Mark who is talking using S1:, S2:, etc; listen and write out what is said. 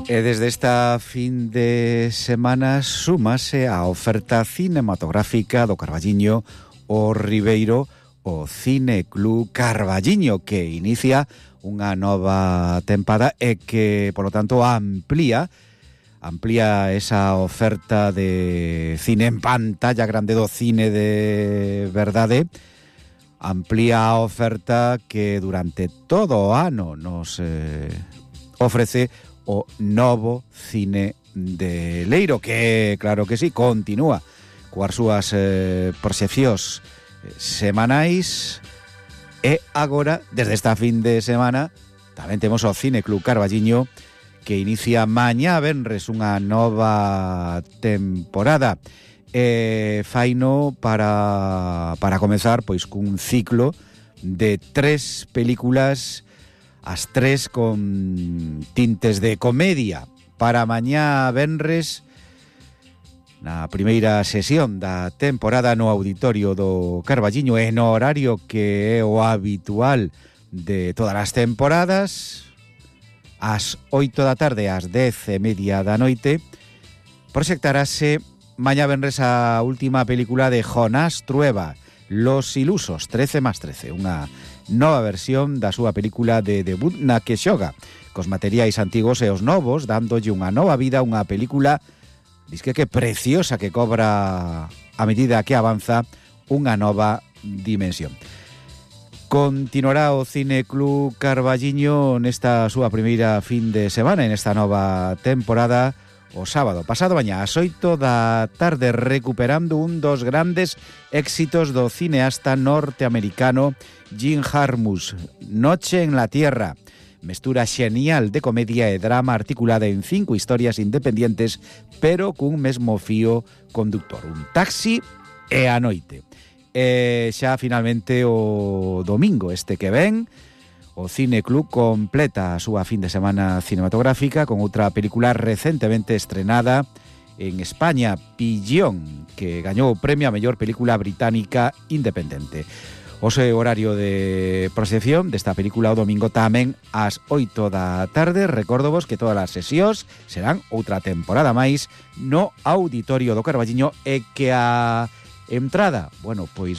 S1: E desde esta fin de semana súmase a oferta cinematográfica do Carballiño o Ribeiro, o Cine Club Carballiño, que inicia unha nova tempada e que, polo tanto, amplía esa oferta de cine en pantalla grande do cine de verdade. Amplía a oferta que durante todo o ano nos ofrece o novo cine de Leiro, que, claro que sí, continúa coas súas proxeccións semanais. E agora, desde esta fin de semana, tamén temos o Cine Club Carballiño, que inicia mañá venres unha nova temporada. Faino para comezar pois cun ciclo de 3 películas, as 3 con tintes de comedia. Para mañá venres, na primeira sesión da temporada no auditorio do Carballiño, en horario que é o habitual de todas as temporadas, ás 8 da tarde, ás 10:30 da noite, proxectarase mañá venres a última película de Jonás Trueba, Los Ilusos, 13+13, unha nova versión da súa película de debut na que xoga cos materiais antigos e os novos, dándolle unha nova vida, unha película disque que preciosa, que cobra a medida que avanza unha nova dimensión. Continuará o Cine Club Carballiño nesta súa primeira fin de semana, en esta nova temporada, o sábado pasado mañá ás 8 da tarde, recuperando un dos grandes éxitos do cineasta norteamericano Jim Jarmusch, Noche en la Tierra, mestura xenial de comedia e drama articulada en 5 historias independientes, pero cun mesmo fío conductor, un taxi e a noite. E xa finalmente o domingo este que ven, o Cine Club completa a súa fin de semana cinematográfica con outra película recentemente estrenada en España, Pillón, que gañou o premio a mellor película británica independente. O seu horario de proxección desta película o domingo tamén ás 8 da tarde. Recórdovos que todas as sesións serán outra temporada máis no auditorio do Carballiño e que a entrada, bueno, pois